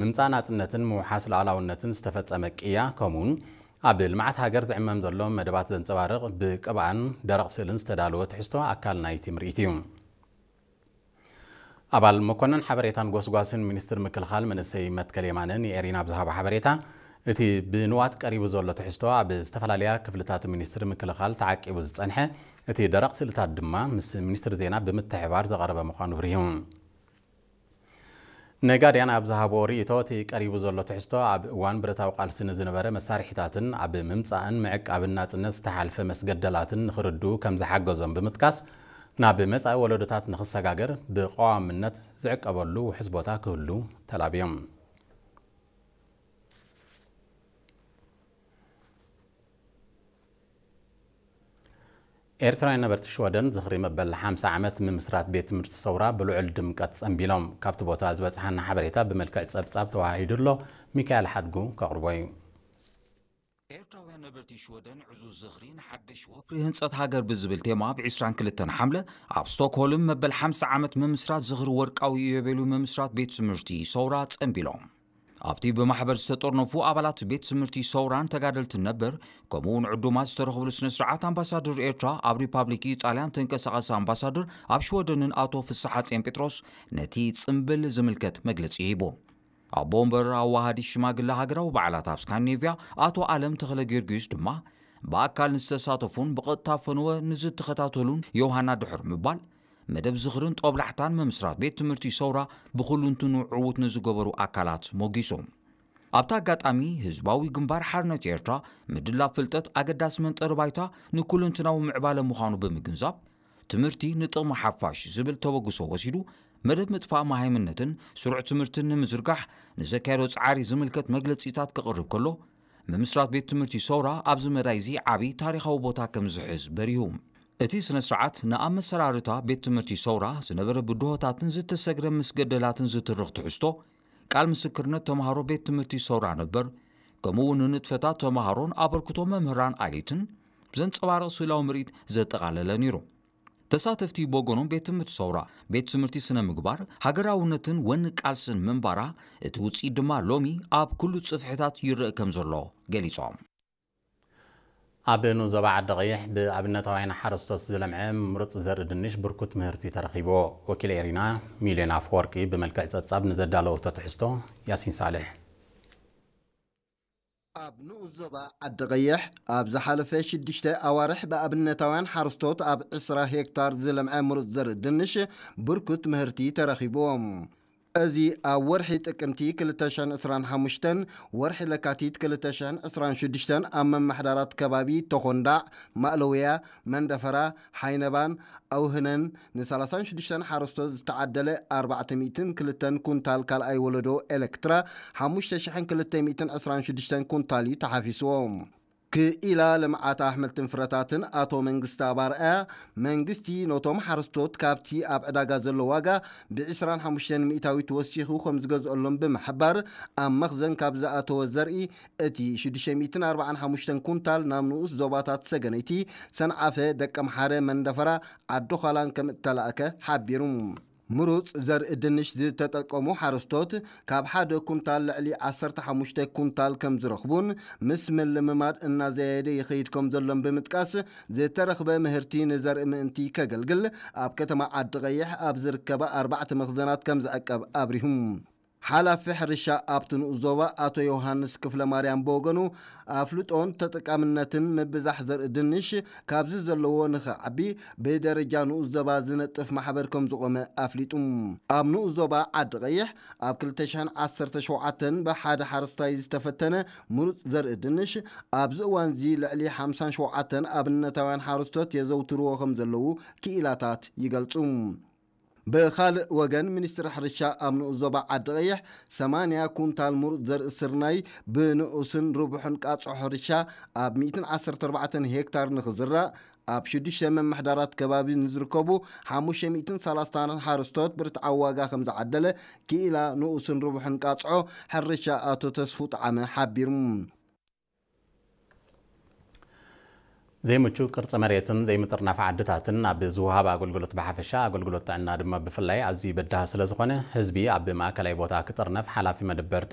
ምምጻእ ናጽነትን ምውሓስ ሉዓላውነትን ዝተፈጸመ ቅያ፣ ከምኡውን ኣብ ልምዓት ሃገር ዝዕመም ዘሎ መደባት ዘንጸባርቕ ብቅብኣን ደረቕ ስእልን ዝተዳለወ ትሕዝቶ ኣካል ናይቲ ምርኢት እዩ። ኣባል መኮነን ሓበሬታን ጎስጓስን ሚኒስትር ምክልኻል መንእሰይ መትከል የማነ ንኤሪና ኣብ ዝሃቦ ሓበሬታ፣ እቲ ብንዋት ቀሪቡ ዘሎ ትሕዝቶ ኣብ ዝተፈላለያ ክፍልታት ሚኒስትሪ ምክልኻል ተዓቂቡ ዝጸንሐ፣ እቲ ደረቕ ስእልታት ድማ ምስ ሚኒስትሪ ዜና ብምትሕብባር ዝቐረበ ምዃኑ ብሪሁ። ነጋድያን ኣብ ዝሃብዎ ርእይቶ፣ እቲ ቀሪቡ ዘሎ ትሕዝቶ ኣብ እዋን ብረታዊ ቃልሲ ንዝነበረ መሳርሒታትን ኣብ ምምጻእን ምዕቃብን ናጽነት ዝተሓልፈ መስገደላትን ንኽርድኡ ከም ዝሓገዞም ብምጥቃስ፣ ናብ መጻኢ ወለዶታት ንኽሰጋገር ብቐዋምነት ዝዕቀበሉ ውሑስ ቦታ ክህሉ ተላብዮም። ኤርትራውያን ነበርቲ ሽወደን ዝኽሪ መበል ሓምሳ ዓመት ምምስራት ቤት ትምህርቲ ሰውራ ብልዑል ድምቀት ጸንቢሎም። ካብቲ ቦታ ዝበጽሓና ሓበሬታ ብመልክዕ ጸብጻብ ተዋሂዱ ኣሎ። ሚካኤል ሓድጉ ከቕርቦ እዩ። ኤርትራውያን ነበርቲ ሽወደን ዕዙዝ ዝኽሪ ንሓድሽ ወፍሪ ህንጸት ሃገር ብዝብል ቴማ ብ ዕስራን ክልተን ሓምለ ኣብ ስቶክሆልም መበል ሓምሳ ዓመት ምምስራት ዝኽሪ ወርቃዊ ኢዮቤልዩ ምምስራት ቤት ትምህርቲ ሰውራ ጸንቢሎም። ኣብቲ ብማሕበር ዝተጠርነፉ ኣባላት ቤት ትምህርቲ ሰውራን ተጋደልትን ነበር፣ ከምኡ እውን ዕዱማት ዝተረኽብሉ ስነ ስርዓት ኣምባሳደር ኤርትራ ኣብ ሪፓብሊክ ኢጣልያን ተንቀሳቓሲ ኣምባሳደር ኣብ ሽወደንን ኣቶ ፍስሓጽዮን ጴጥሮስ ነቲ ጽምብል ዝምልከት መግለጺ ሂቡ። ኣቦ ወንበር ኣዋሃዲ ሽማግለ ሃገራዊ በዓላት ኣብ ስካንዲኔቭያ ኣቶ ኣለም ተኽለ ጊዮርጊስ ድማ ብኣካል ንዝተሳተፉን ብቐጥታ ፈነወ ንዝተኸታተሉን ዮሃና ድሕር ምባል፣ መደብ ዝኽርን ጦብላሕታን ምምስራት ቤት ትምህርቲ ሰውራ ብኹሉንትኑ ዕዉት ንዝገበሩ ኣካላት ሞጊሱ። ኣብቲ ኣጋጣሚ ህዝባዊ ግንባር ሓርነት ኤርትራ ምድላብ ፍልጠት ኣገዳሲ መንጠሪ ባይታ ንኩለንትናዊ ምዕባለ ምዃኑ ብምግንዛብ፣ ትምህርቲ ንጥቕሚ ሓፋሽ ዝብል ተበግሶ ወሲዱ፣ መደብ ምጥፋእ መሃይምነትን ስሩዕ ትምህርትን ንምዝርጋሕ ንዘካየዶ ጻዕሪ ዝምልከት መግለጺታት ክቕርብ ከሎ፣ ምምስራት ቤት ትምህርቲ ሰውራ ኣብዚ መዳይ እዚ ዓቢ ታሪኻዊ ቦታ ከም ዝሕዝ በሪሁ። እቲ ስነ ስርዓት ንኣብ መሰራርታ ቤት ትምህርቲ ሰውራ ዝነበረ ብድሆታትን ዝተሰግረ ምስ ገደላትን ዝትርኽ ትሕዝቶ፣ ቃል ምስክርነት ተምሃሮ ቤት ትምህርቲ ሰውራ ነበር፣ ከምኡ እውን ንንጥፈታት ተምሃሮን ኣበርክቶ መምህራን ኣሌትን ዘንጸባርቕ ስእላዊ ምርኢት ዘጠቓለለ ነይሩ። ተሳተፍቲ ብወገኖም ቤት ትምህርቲ ሰውራ ቤት ትምህርቲ ስነ ምግባር፣ ሃገራውነትን ወኒ ቃልስን ምንባራ፣ እቲ ውጽኢት ድማ ሎሚ ኣብ ኩሉ ጽፍሕታት ይረአ ከም ዘሎ ገሊጾም። ኣብ ንኡስ ዞባ ዓዲ ቀይሕ ብኣብነታውያን ሓረስቶት ዝለምዐ ምሩጽ ዘርኢ ድንሽ ብርኩት ምህርቲ ተረኺብዎ። ወኪል ኤሪና ሚልዮን ኣፈወርቂ ብመልክዕ ጸብጻብ ንዘዳለወቶ ትሕዝቶ ያሲን ሳልሕ። ኣብ ንኡስ ዞባ ዓዲ ቀይሕ ኣብ ዝሓለፈ ሽዱሽተ ኣዋርሕ ብኣብነታውያን ሓረስቶት ኣብ ዕስራ ሄክታር ዝለምዐ ምሩጽ ዘርኢ ድንሽ ብርኩት ምህርቲ ተረኺብዎም። እዚ ኣብ ወርሒ ጥቅምቲ ክልተ ሽሕን ዕስራን ሓሙሽተን፣ ወርሒ ለካቲት ክልተ ሽሕን ዕስራን ሽዱሽተን ኣብ መማሕዳራት ከባቢ ተኾንዳዕ፣ ማእለውያ፣ መንደፈራ፣ ሓይነባን ኣውህነን ን ሰላሳን ሽዱሽተን ሓረስቶት ዝተዓደለ ኣርባዕተ ሚእትን ክልተን ኩንታል ካልኣይ ወለዶ ኤሌክትራ ሓሙሽተ ሽሕን ክልተ ሚእትን ዕስራን ሽዱሽተን ኩንታል እዩ ተሓፊስዎ። ክኢላ ልምዓት ኣሕምልትን ፍረታትን ኣቶ መንግስቲ ኣባርኣያ፣ መንግስቲ ነቶም ሓረስቶት ካብቲ ኣብ ዕዳጋ ዘሎ ዋጋ ብ ዕስራን ሓሙሽተን ሚእታዊት ወሲኹ ከም ዝገዝኦሎም ብምሕባር፣ ኣብ መኽዘን ካብ ዝኣተወ ዘርኢ እቲ ሽዱሽተ ሚእትን ኣርባዓን ሓሙሽተን ኩንታል ናብ ንኡስ ዞባታት ሰገነይቲ፣ ሰንዓፈ፣ ደቀምሓረ፣ መንደፈራ፣ ዓዲ ዃላን ከም እተላእከ ሓቢሩ። ምሩጽ ዘርኢ ድንሽ ዝተጠቀሙ ሓረስቶት ካብ ሓደ ኩንታል ልዕሊ ዓሰርተ ሓሙሽተ ኩንታል ከም ዝረኽቡን ምስ ምልምማድ እናዘያየደ ይኸይድ ከም ዘሎን ብምጥቃስ፣ ዝተረኽበ ምህርቲ ንዘርኢ ምእንቲ ከገልግል ኣብ ከተማ ዓዲ ቀይሕ ኣብ ዝርከባ ኣርባዕተ መኽዘናት ከም ዝዕቀብ ኣብሪሁ። ሓላፊ ሕርሻ ኣብቲ ንኡስ ዞባ ኣቶ ዮሃንስ ክፍለ ማርያም ብወገኑ፣ ኣፍልጦን ተጠቃምነትን ምብዛሕ ዘርኢ ድንሽ ካብዚ ዘለዎ ንኽዓቢ ብደረጃ ንኡስ ዞባ ዝነጥፍ ማሕበር ከም ዝቖመ ኣፍሊጡ። ኣብ ንኡስ ዞባ ዓዲ ቀይሕ ኣብ ክልተ ሽሕን ዓሰርተ ሸውዓተን ብሓደ ሓረስታይ ዝተፈተነ ምሩጽ ዘርኢ ድንሽ ኣብዚ እዋንዚ ልዕሊ ሓምሳን ሸውዓተን ኣብነታውያን ሓረስቶት የዘውትርዎ ከም ዘለዉ ክኢላታት ይገልጹ። ብኻልእ ወገን፣ ሚኒስትሪ ሕርሻ ኣብ ንኡስ ዞባ ዓዲ ቀይሕ ሰማንያ ኩንታል ምሩጽ ዘርኢ ስርናይ ብንኡስን ርቡሕን ቃጽዖ ሕርሻ ኣብ ሚእትን ዓሰርተ ኣርባዕተን ሄክታር ንኽዝራእ፣ ኣብ ሽዱሽተ መምሕዳራት ከባቢ ንዝርከቡ ሓሙሽተ ሚእትን ሰላሳን ሓረስቶት ብርትዓዊ ዋጋ ከም ዝዓደለ ክኢላ ንኡስን ርቡሕን ቃጽዖ ሕርሻ ኣቶ ተስፉ ጠዓመ ሓቢሩ። ዘይምቹ ቅርጺ መሬትን ዘይምጥርናፍ ዓድታትን ኣብ ዝወሃብ ኣገልግሎት ብሓፈሻ፣ ኣገልግሎት ጥዕና ድማ ብፍላይ ኣዝዩ በዳሂ ስለ ዝኾነ፣ ህዝቢ ኣብ ማእከላይ ቦታ ክጥርነፍ ሓላፊ መደበር